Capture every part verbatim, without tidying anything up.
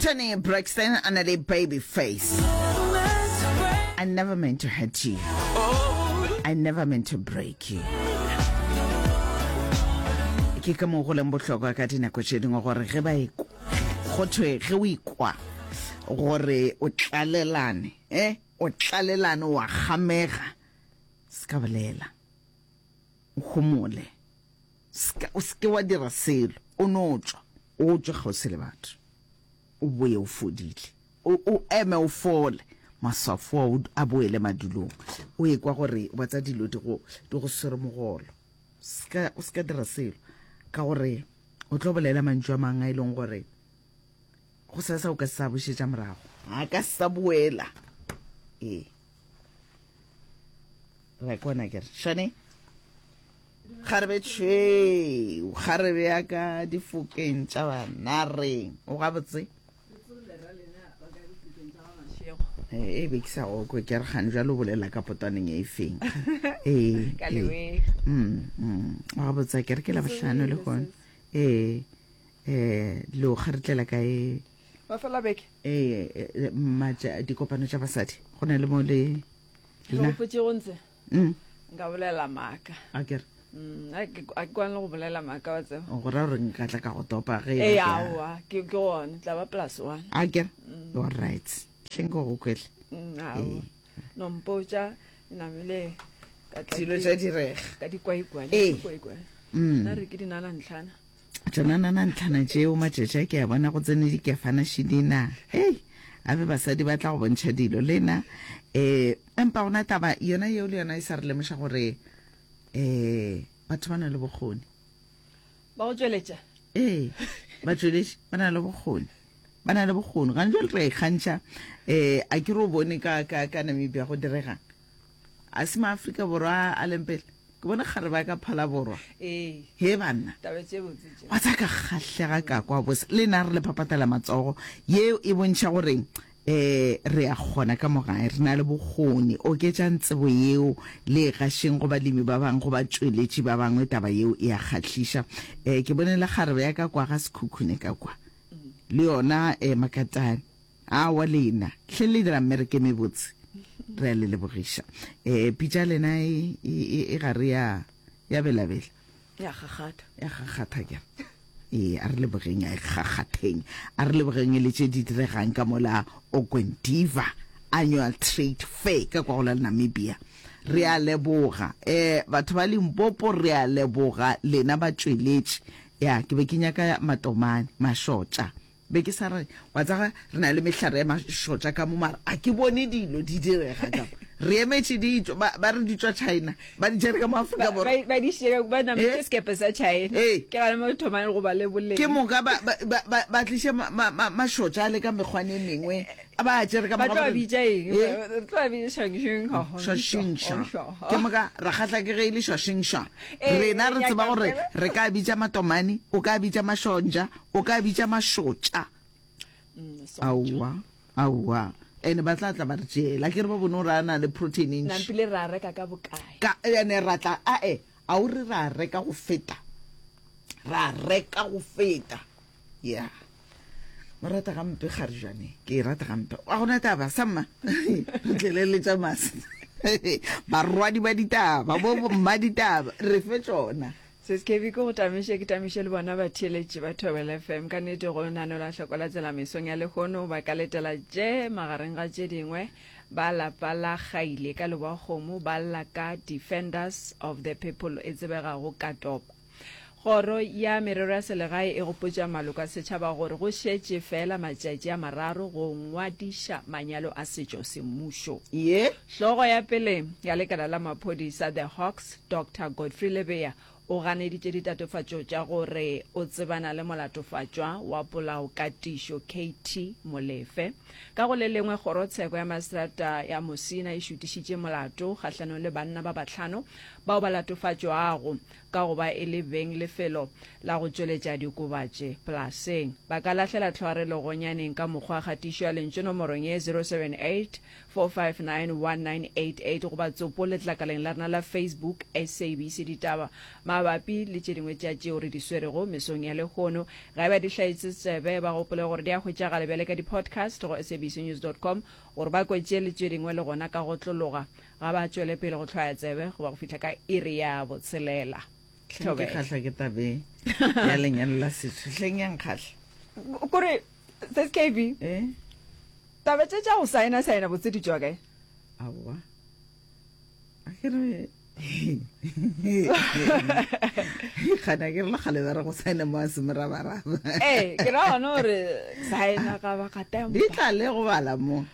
Toni Braxton a na le Baby Face. I never meant to hurt you. I never meant to break you. Ke ka moo go leng bohlokwa ka dinako tše dingwe gore ge ba ekwa go thwe ge o ikwa gore o tlalelane eh o tlalelane wa kgamega se ka bolela o homole Ska, o seke wa dira selo o no tšwa o tšwe kgauswi le batho o boye o fodile o, o eme o fole maswafo ao a boele madulong o ekwa gore wa tsa dilo di go di go swere mogolo ska o ska dira selo ka gore o tlo bolela mantšu a mang a e leng gore go sasa o ka sa bušetša morago a ka sa boela ee re kwana ke re shane kgarebe tšhweu kgarebe ya ka difokeng tša banareng o gabotse e be ke sa go kwe ke re gane jalo o bolela ka potwaneng e feng ee Ka leweng. mm, mm. o gabotse ke re ke la bohlano le gona ee um lo kgaretlela kae Mafelo a beke. ee eh, matša dikopano tša basadi go na le mo le Ke lena gopotše go ntse Mm, nka bolela maaka. a ke re Mm, a ke a ke kwane le go bolela maaka wa tseba. go ra gore nka tla ka go topa ge e Ee ba ke a- aowa ke ke gone tla ba plus one. a ke re all right hleng ke go kwele Mm, aowa. No mpotša namile ka tla dilo ke- tša direga ka dikwaikwai. Ee. Dikwaikwai. Mm. Nna re ke dinala ntlhana. tšona nana ntlhana tšeo matšatši a ke a bona go tsene dikefana šidina hei a be basadi ba tla go bontšha dilo le na um empa gona taba yona yeo le yona e sa re lemoša gore um batho ba na le bokgoni Ba go tšweletša. ee batšweletši ba na le bokgoni ba na le bokgoni gane jale re a ikgantšha um a ke re o bone ka, ka, ka Namibia go diregang a se maafrika Borwa a leng pele ke bone kgare ba ka phala borwa Ee. he banna Taba tše botse tše. wa tsa ka kgahlega ka kwa bose le nna re le phaphatela matsogo yeo e bontšha gore um re a kgona ka mogae re na le bokgoni oketšang tsebo yeo le e gašeng go balemi ba bangwe go batšweletši ba bangwe taba yeo e a kgahliša um ke bone le kgarebe ya ka kwa ga Sekhukhune ka kwa le yona um Makatane awa lena hle le dira mmereke mebotse re a le lebogiša um pitša lena e, e, e, e gare ya ya belabela Ya gagata. ya gagatha ke ee a re lebogeng a e gagatheng a re lebogeng e le tše di diregang ka mola Ongwediva annual trade fair ka kwa go la Namibia re a leboga um batho ba Limpopo re a leboga lena batšweletši ya ke be ke nyaka matomane mašotša be ke sa re wa tsega re na le mehlare ya mašotša ka mo mara a ke bone dilo di direga ka mo re emetše ditšo ba ba re di tšwa China ba di tšere ka mo Afrika Ba Borwa ba di šere ba nametše Eh? sekepe sa China. Ee. Ke gana mo thomang go ba le boleng. ke moka ba ba ba ba- ba tliše ma- ma- ma- mašotša a le ka mekgwane e mengwe a ba a tšere ka Ba moka tlo ba re- bitša eng? Eh? Re tlo ba bitša shangshung ha ho. Šwašingša. Ke moka ra kgahla ke ge e le šwašingša. Ee, Rena re ya tseba ka gore tseba. re ka bitša matomane, o ka bitša mašonja, o ka bitša mašotša. Mm, so. Aowa, aowa. Ene ba tla tla ba re tšeela. Ke re ba bone gore a na le protein e ntši. Nampile ra reka ka bokae? Ka ene ra tla ae, a o re ra reka go feta. Ra reka go feta. Yeah. Mo rata gampe kgarejane, ke e rata gampe. A gona taba samma. Re tlele le tša mase. Barwadi ba ditaba, bo bo mma ditaba, re fe tšona. Se se ke go tamiše ke tamiše le bona batheeletši ba Thobela F M ka nnete go lenaneo la hloko la tsela mesong ya lehono ba ka letela tše magareng ga tše dingwe ba lapa la Gaile ka Leboakgomo ba lla ka Defenders of the People e tsebegago ka topa. Kgoro ya merero ya selegae e gopotša maloko a setšhaba gore go šetše fela matšatši a mararo go ngwadiša manyalo a setšo semmušo. Ye. Hlogo ya pele ya lekala la maphodisa The Hawks, Doctor Godfrey Lebeya, o ganeditše ditatofatšo tša gore o tsebana le molatofatšwa wa polao ka tišo K T Molefe. Ka go le lengwe, kgorotsheko ya maseterata ya Musina e šutišitše molato kgahlanong le banna ba bahlano bao ba latofatšwago ka go ba e le beng lefelo la go tšweletša dikobatše polaseng. Ba ka lahlela tlhoarelo gonyaneng ka mokgwa kgatišo ya lentšu nomorong ye zero seven eight four five nine one nine eight eight goba tsopo letlakaleng la rena la Facebook S A B C Ditaba mabapi le tše dingwe tša tšeo re di swerego mesong ya lehono. Ga e ba di hlaetše tsebe, ba gopole gore di a hwetšagala bjale ka di-podcast go S A B C news dot com gore ba kwe tše le tše dingwe le gona ka go tlologa. Ga ba tšwele pele go hlwaya tsebe goba go fihla ka iri ya botshelela. Hleng ke kgahla ke tabe ya lenyalo la setšo. Hleng ya nkgahla. Kore S K B. Eh? Taba tše tša go saena saena botse di tšwa kae? Aowa. A ke re Kgana ke re le kgale ba re go saena mo a se morabaraba. Ee, ke ra gona gore saena ga ba ga tempa. Di tla le go bala mo.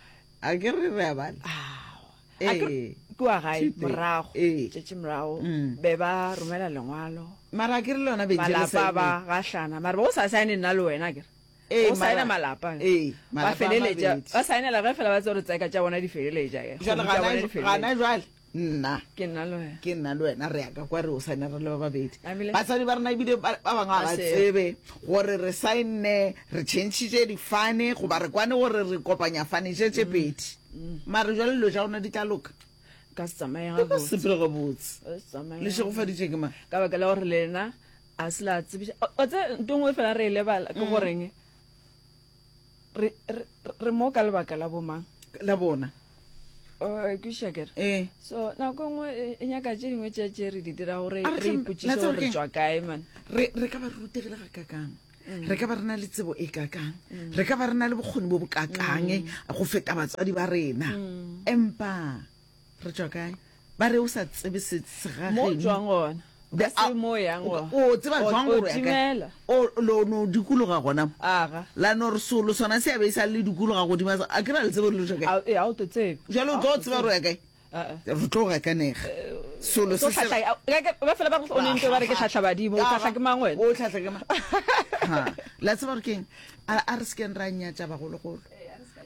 A ke re re a bala. Aowa. A ke Ee. kua gae Thuto. morago, Ee. tšatši morago, Mm. be ba romela lengwalo. Mara a ke re le yona bentše le Malapa saenne. ba gahlana, mara ba o sa saene nna le wena ke re. Ee, O saena mara- malapa. Ee, Ba malapa a feleletša, mabedi. ba saenela ge fela ba tseba gore tseka tša bona di feleletša, ke. Jwale Kgomo tša gana bona di gana feleletša. jwale, nna. Ke nna le wena. Ke nna le wena, re ya ka kwa re o saena re le ba babedi. Amile. Batswadi ba rena ebile ba ba bangwe ga ba Ba se- tsebe gore re saenne, re changitše difane, goba re kwane gore re kopanya fane tše tše pedi. Mm. Mara jwale dilo tša rona di tla loka. Ka se tsamaye Di ka gabotse. sepele gabotse. Ka se tsamaye Le šegofaditše ke mang? Ka baka la gore lena a se la tsebiša. O, o tsebe ntho e nngwe fela re e lebala ke Mm. goreng re, re, re mo ka lebaka la bomang? La bona. O, kwešiša ke re? Ee. So nako e nngwe e, e nyaka tše dingwe tša tše re di dira gore A re re tle- ipotšiše la tseba gore re keng? tšwa kae, man. Re, re ka ba re rutegile ga kakang. Mm. Re ka ba re na le tsebo e kakang. Re ka ba re na le bokgoni bo bo kakang Mm. go feta batswadi ba rena. Mm. Empa re tšwa kae? Ba re o sa tsebe se se ga Mo geno. tšwang gona. Be Ka se a- mo yang gona. O tseba O- jwang o gore o ya kae? timela. O lo no dikologa gona mo. Aga. La no re solo sona se a be sa le dikologa godimo a sa- a ke ra le tsebe gore le tšwa kae? A, e, a o tlo tsebe. Jwale o tlo tseba gore o ya kae? Ah, ah. Re tlo gakanega. Solo Tlo se se- hlahla- a, ka, ka, ba fela ba re o ne ntho ba re ke hlahla badimo, o hlahla ke mang wena? O hlahla ke mang? Ha. La tseba gore keng? A, a re sekeng ra nyatša bagologolo.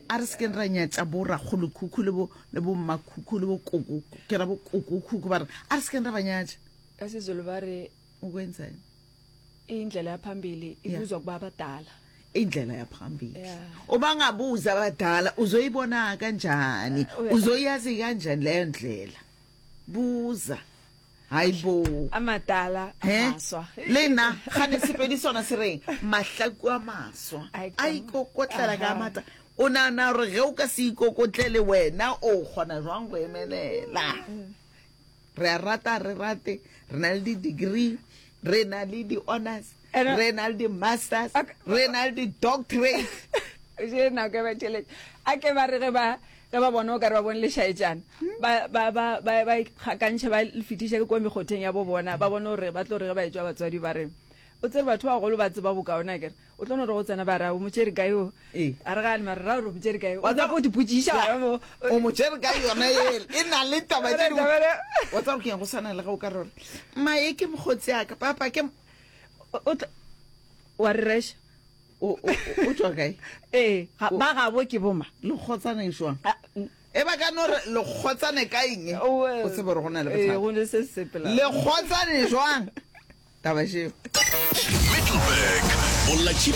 A re sekeng ra nyatša bo rakgolokhukhu le bo, le bo mmakhukhu le bo koko, ke ra bo kokokhukhu ba re, a re sekeng ra ba nyatša. Ka Sezulu ba re, O kwenzani? Indlela ya phambili Yeah. ibuzwa kuba abadala. Indlela ya phambili. Yeah. Uma ngabuza abadala uzoyibona kanjani? Uh, Uzoyazi kanjani leyo ndlela? Buza. Hayibo. Amadala He? amaswa. Le nna gane Sepedi sona se reng mahlaku a maswa A a ikokotlela ka Aha. matla. O nahana gore ge o ka se ikokotlele wena o kgona jwang go emelela? Re a rata re rate, re na le di-degree, re na le di-honors, Ene- re na le di-masters, Ak- re na le di-doctorate. Je nako e ba tšhelete. A ke ba re ge ba, ge ba bona o ka re ba bone lešaetšana, ba, ba, ba, ba, ba ikgakantšhe, ba le fetiše ke kwa mekgotheng ya bo bona, ba bone gore ba tlo re ge ba etšwa batswadi ba re, o tsere batho ba bagolo ba tseba bokaone akere. O tlo no re go tsena ba re, o mo tšere kae o? Ee. A re gane, mara ra gore o mo tšere kae? O Wa tla tseba- go di potšiša Ya. gona mo. O mo tšere kae yona ele? E na le taba tše dingwe. Taba le- Wa tseba gore ke eng, go swana le ge o ka re gore, mma e ke mokgotsi ya ka, papa ke m-, O, o tla, wa re reša? O, o, o, o tšwa kae? Ee, ga, O- ba gabo ke boma. Lekgotsana e jwang? Ah, mm. E ba ka no re lekgotsane ka eng? O, eh, O tsebe gore go na le ee, bothata. go ne se se sepelang. Lekgotsane jwang? Taba šeo. Middelburg, Bolatši